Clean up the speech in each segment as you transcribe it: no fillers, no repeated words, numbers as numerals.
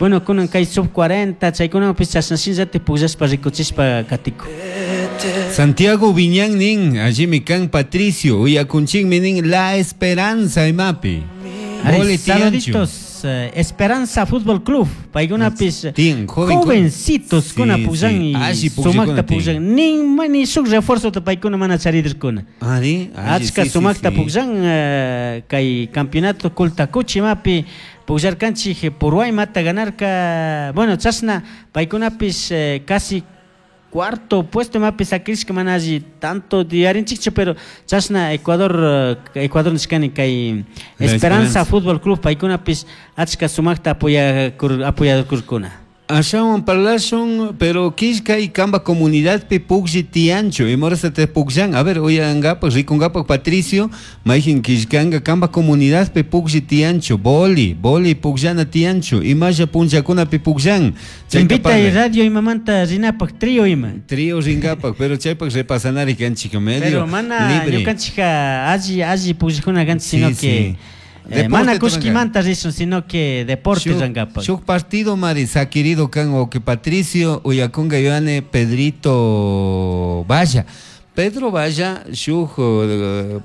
Bueno, kunan kay sub 40 chaykunawanpis chashna shinallatik pukllashpa rikuchishpa katikun. Santiago Viñán nin, allimi kan Patricio, uyakunchikmi nin La Esperanza imapi. Ari, Boli tiyanchu. saluditos, Esperanza Fútbol Club, paykunapis Tiyan, joven- jovencitos kuna Sí, pukllan sí, y alli pukllakuna sumakta tiyan. pukllan, nin ni shuk refuerzota paykuna mana charidirkuna. Ari, alli, Achka sí, sí, sumakta sí. pukllan kay campeonato Kultakuchi imapi pukllarkanchik Purwaymata ganarka, bueno, chashna paykunapis casi cuarto puesto imapi sakirishka mana alli tanto diarinchikchu, pero chashna Ecuador nishkani kay La Esperanza Esperanza. Fútbol Club paykunapis achka sumakta apoyakurkuna. Ashawan parlashun, pero kishka y kamba comunidad pi puklli tiyanchu, imorasa te pukllan. A ver, uyangapak, rikungapak, Patricio, mayjin kishkanga kamba comunidad pi puklli tiyanchu, boli, boli pukllana tiyanchu, imalla punllakuna pi pukllan. Chayta Invita y parlay. radio imamanta rinapak, trío ima. Trío ringapak, pero chaypak repasanari kanchik medio Pero mana libre. ñukanchikka alli, alli pukllakuna kanchik, Sí, sino sí. que Deporte mana turanka. kushkimanta rishun, sino que deporte Shuk- rangapak. Shuk partido mari sakirido kan o que Patricio uyakunga yoane Pedrito Valla. Pedro Valla, shuk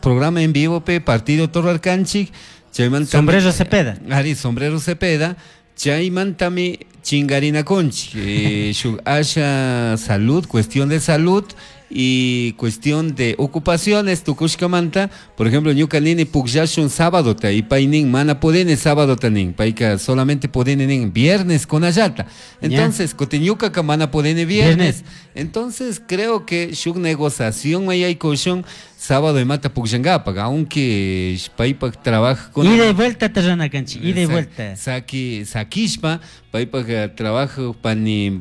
programa en vivo pe partido Torrarcanchik, chaymanta Sombrero Cepeda. Ari, Sombrero Cepeda, chaymantami chingarina conchi. Shuk asha salud, cuestión de salud y cuestión de ocupaciones, tukushkamanta, por ejemplo, ñuka nini pukllashun sábado ta, y paynin mana pudini sábado ta nin, payka solamente pudini nin viernes con allata. Entonces, kutin ñuka ka mana pudini viernes. Viernes. Entonces, creo que shuk negociación mayaykushun sábado y mata pukllangapak, aunque paypak trabaja con Ida y vuelta te rana canchi, ida y Sa- vuelta. Saki, sakishpa, paypak trabajo pani,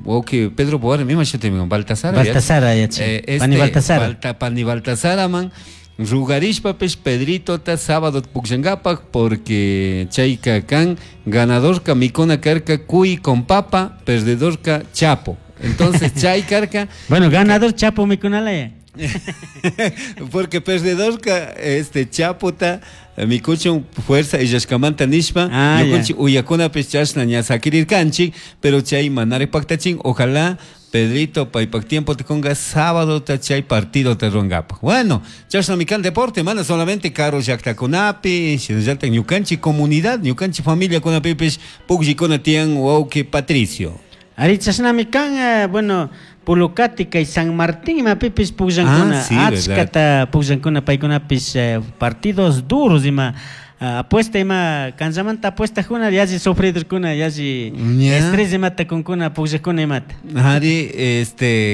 oke, Pedro Boar, misma yo te digo, Baltasar, ¿ya? Baltasar, ya, che. Pani Baltasar. Pani Baltasar, man. Rugarishpa, pues, Pedrito, ta sábado pukllangapak, porque chayka kan, ganador ka mikuna karka, cuy con papa, perdedor ka chapo. Entonces, chay karka. Bueno, ganador chapo mikunala ya. Porque perdedor ka, este, chapo ta, mikuchun fuerza y yashkamanta nishpa, Ah, ya. ñukunchik uyakuna pis chashna ña sakirirkanchik, pero chay manari paktachin, ojalá Pedrito paypak tiempo te conga sábado ta chay partido te rongapa. Bueno, chashna mikan deporte, mana solamente caro llaktakunapi, shinallata ñukanchik comunidad, ñukanchik familia kunapipis pukllikuna tiyan wawqi Patricio. Ari chashna mikan, bueno, Pulucati kay San Martín imapipis pukllankuna, Ah, sí, achkata pukllankuna paykunapis, partidos duros ima, apuesta ima, kanchamanta apuesta juna, yalli sufridorkuna, yalli estrés imata kunkuna, pukllakuna imata. Ari,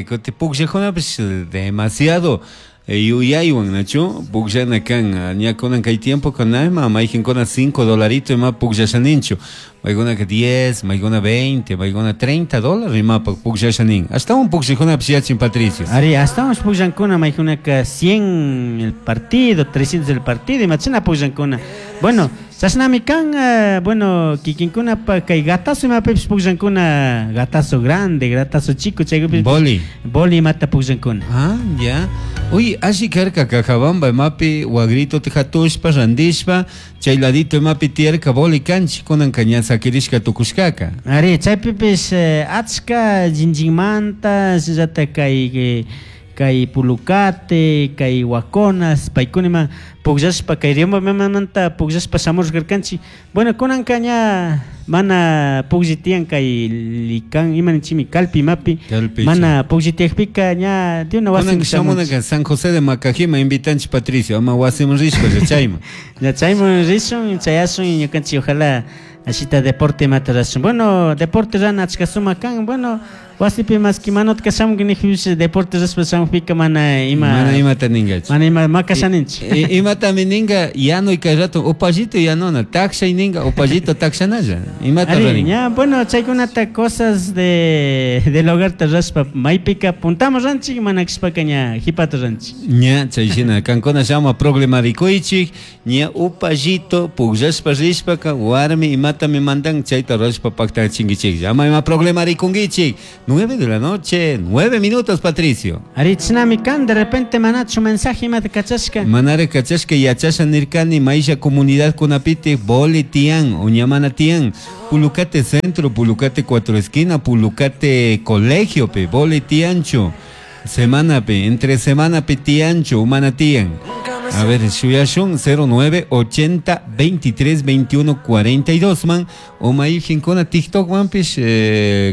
kuti pukllakunapis demasiado yuyaywan, nachu, pukllana kan, ña kunan kay tiempo kunayma, mayqinkuna cinco dolarito ima pukllashaninchu, maykunaka 10, maykuna 20, maykuna 30 dólares imapak pukllashanin. Ashtawan pukllakunapis yachin, Patricio. Ari, ashtawan pukllankuna, maykunaka 100 el partido, 300 el partido, imachina pukllankuna. Bueno, chashnami kan, bueno, kikinkunapa kay gatazo imapipis pukllankuna, gatazo grande, gatazo chico, chaykupis Boli. Boli imata pukllankuna. Ah, ya. Uy, alli karka Cajabamba imapi wagrito tijatushpa, randishpa, chay ladito imapi tiyarka boli kanchi, kunan ña sakirishka tukushkaka. Ari, chaypipis achka jinjinmanta, shinallata kay Pulucate, kay Huaconas, paykunima pukllashpa, kay Riobambamanta pukllashpa shamushkarkanchik. Bueno, kunanka ña mana puklli tiyan kay Licán, ima ninchikmi, Calpi imapi, Calpi, mana sí. puklli tiyakpika ña de una Kunan wasiman shamunaka shamunchik. San José de Macajima invitanchik Patricio, ama wasiman rishpa ya chayman. Ya chayman rishun, chayashun y ñukanchik ojalá ashita deporte imata rashun. Bueno, deporte rana achka sumak kan, bueno, wasipi maski manotka shamunki nijpipish deporte rashpa shamukpika mana ima Mana imata ningachu. Mana ima makashaninchik. Imatami ninga yano y kay rato upallito yanona, takshay ninga upallito takshanalla. Imata Ari, ranin. ña, bueno, chaykunata cosas del hogar te raspa, maypika puntamos ranchik, mana kishpaka ña jipata ranchik. Ña, chay shina, kankuna llama problema rikuychik, ña upallito pukllashpa rishpaka warmi imatami mandan chayta rashpa paktachinkichik. Ama ima problema rikunkichik. 9 de la noche, 9 minutos, Patricio. Arichnami kan, de repente manachu mensaje imata kachashka. Manara kachashka yachasha nirkani maisha comunidad kunapiti boli tian, uñamana tian, Pulucate Centro, Pulucate Cuatro Esquina, Pulucate Colegio pe, boli tiancho, semana pe, entre semana pe tiancho, humana tian. A ver, shuyashun 09 80 23 21 42 man, o maijin TikTok man pish,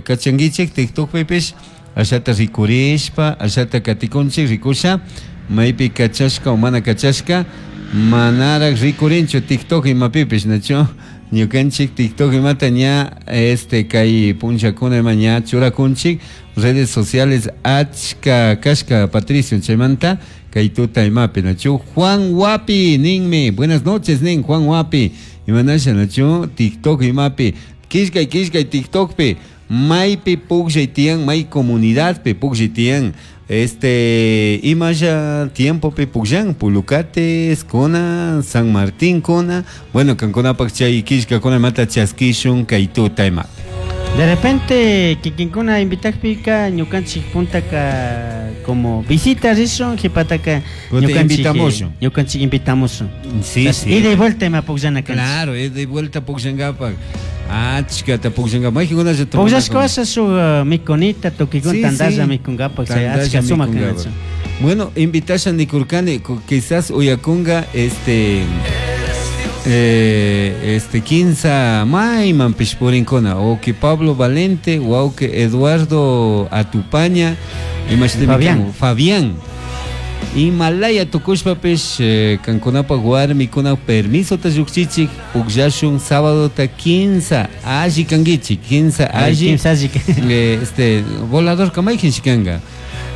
kachanguichik TikTok pish, ashata rikurishpa, ashata katikunchik rikusha, maypi kachashka o mana kachashka, manara rikurinchu TikTok imapipish nacho, ñukanchik TikTok imata ña este kay punchakuna ima ña churakunchik, redes sociales achka kashka Patricio chaymanta kay tuta imapi nacho, Juan Wapi ninmi, buenas noches nin Juan Wapi, imanasha nacho TikTok imapi, kishkay kishkay TikTok pi, maypi pukllay tiyan, may comunidad pi pukllay tiyan, este imaya tiempo pi pukllan, Pulucates kuna, San Martín kuna, bueno kankunapak chay kishkakuna imata chaskishun kay tuta imapi. De repente kikinkuna invitakpika ñukanchik puntaka como visita rishun, jipataka ñukanchik invitamos. Sí, sí. Ida y vuelta ima pukllana kanchik. Claro, ida y vuelta pukllankapak. Achkata pukllankapak. Mayqinkunalla Pukllashka washa shuk mikunita, tukikun tandalla mikunkapak, chay achka sumak kanachu. Bueno, invitasha nikurkani, quizás uyakunga este kinsa mayman pishpurinkuna, o que Pablo Valente, o que Eduardo Atupaña, Fabián. Fabián. Himalaya tukushpapish kankunapaq warmikuna permiso ta lluqchichik pukllashun sábado ta kinsa alli kankichik, kinsa alli. Kinsa alli. Este volador kamaykin shikanga.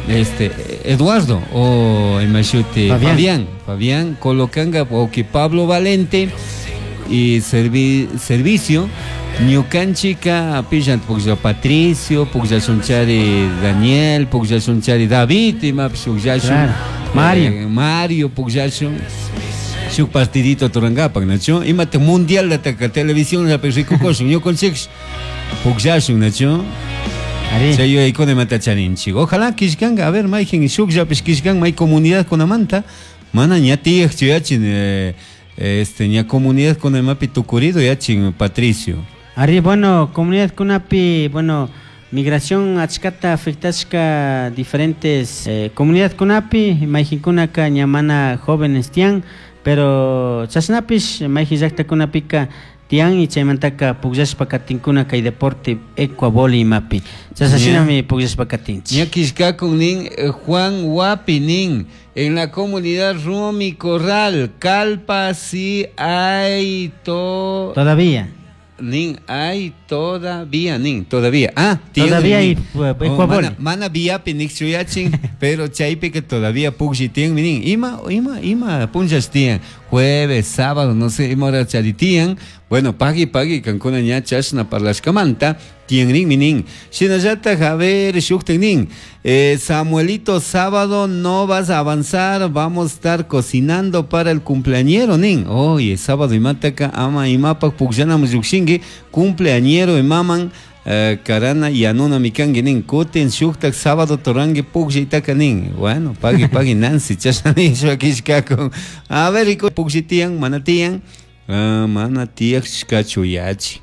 Este Eduardo o imashuti Fabián. Fabián colocanga o que Pablo Valente y servicio ñukanchika pillan puklla Patricio, pukllashunchari Daniel, pukllashunchari David, imapish pukllashun Claro. Mario. Mario pukllashun shuk partidito turangapak nacho, imate mundial lataka televisión llapi rikukushun ñukanchik pukllashun nacho. Ari. Chay yuyaykuna imata charinchik. Ojalá kishkanga, a ver, mayqin shukllapish kishkan may comunidad kunamanta, mana ña tiyaqchu yachin, este ña comunidad kunamapi tukurido yachin Patricio. Ari, bueno, comunidad kunapi, bueno, migración achkata afectashka diferentes comunidad kunapi, mayqinkunaka ña mana jóvenes tiyan, pero chashnapish mayqin llaqta kunapika tiyan y chaymantaka pukllashpa katinkuna kay deporte ecuaboli imapi. Chashashinami pukllashpa katinchik. Ña kishkakun nin Juan Wapi nin, en la comunidad Rumi Corral, Calpa sí hay to... Todavía. Nin hay todavía, nin, todavía. Ah, tiene Todavía hay, nin. ecuaboli. Oh, mana viapi nik chuyachin, pero chaypi que todavía pukshi tiyan, nin. Ima, ima, ima, punchas tiyan. Jueves, sábado, no sé, ima hora charitiyan. Bueno, pagui, pagui, kankuna ña chashna parlashkamanta, tiyan nin, mi nin. Shinallata, a ver, shukten nin. Samuelito, sábado no vas a avanzar, vamos a estar cocinando para el cumpleañero, nin. Oye, sábado imataka, ama imapak pukllanam llukshinki, cumpleañero imaman, karana yanuna mikanki nin, kutin shuktak sábado torangi pukllaytaka nin. Bueno, pagui, pagui, Nancy, chashna nishpa kishkakun. A ver, riku, puklli tiyan, mana tiyan. Ah, mana tiyashkachu yachi.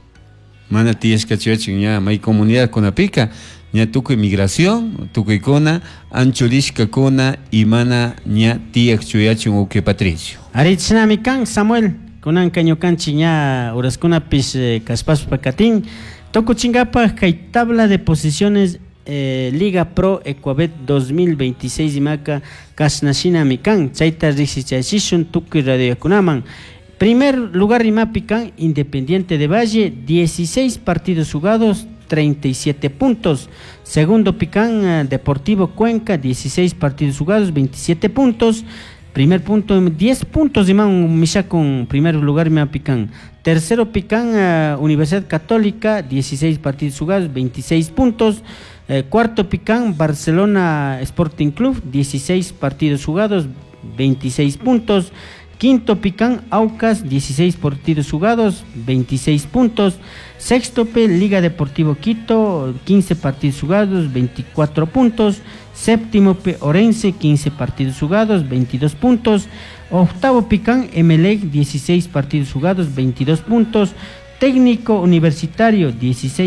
Mana tiyashkachu yachi, ña may comunidad kunapika, ña tukuy migración, tukuykuna, anchurishkakuna, y mana ña tiyashkachu yachin uke Patricio. Arichnami kan, Samuel, kunanka ñukanchik ña uraskunapish, kaspashpa katin. Tukuchinkapaj kay tabla de posiciones Liga Pro Ecuabet 2026 imaka kashnashinami kan, chayta riksichachishun tukuy radiokunaman. Primer lugar imapi kan Independiente de Valle, 16 partidos jugados, 37 puntos. Segundo pican Deportivo Cuenca, 16 partidos jugados, 27 puntos. Primer punto, 10 puntos imán Misha con primer lugar imán pican. Tercero pican Universidad Católica, 16 partidos jugados, 26 puntos. Cuarto pican Barcelona Sporting Club, 16 partidos jugados, 26 puntos. Quinto pican Aucas, 16 partidos jugados, 26 puntos. Sexto P, Liga Deportivo Quito, 15 partidos jugados, 24 puntos. Séptimo P, Orense, 15 partidos jugados, 22 puntos. Octavo Picán, Emelec, 16 partidos jugados, 22 puntos. Técnico Universitario, 16.